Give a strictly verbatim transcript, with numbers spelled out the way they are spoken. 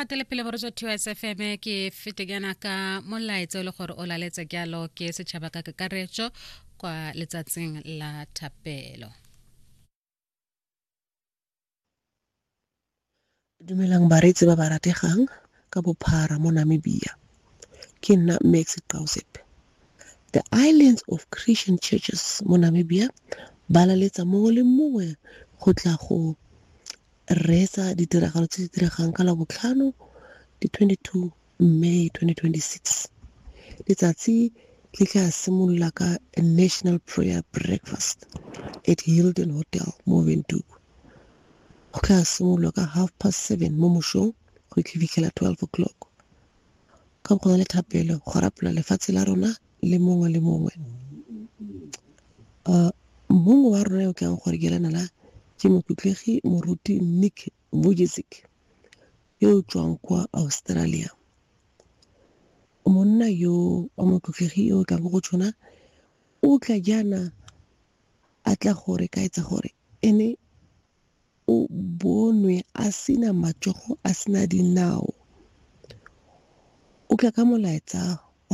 gatele pele boretso T S F M, ke fete jaana ka molaetsa o le gore o laletse jalo ke setšhaba ka kakaretso kwa letsatsing la thapelo. Dumelang bareetsi ba ba rategang ka bophara mo Namibia. Ke nna Max Qausep. The Islands of Christian Churches mo Namibia ba laletsa mongwe le mongwe go tla go reetsa ditiragalo tse di diregang ka Labotlhano di twenty-two May twenty twenty-six. Letsatsi le tla simolola ka a national prayer breakfast at Hilton Hotel mo Windhoek. Go tla simololwa ka half past seven mo mosong go fitlhela twelve o'clock. Ka go na le thapelo go rapela lefatshe la rona le mongwe le mongwe. uh, mongwe wa rona yo tlang gore ke lana la ke motlotlegi moruti Nick Vujicic yo o tswang kwa Australia. Monna yo wa motlotlegi yo o tlang go tshwana o tla jaana a tla gore ka etsa gore ene o bonwe a sena matsogo, a sena dinao. O tla ka molaetsa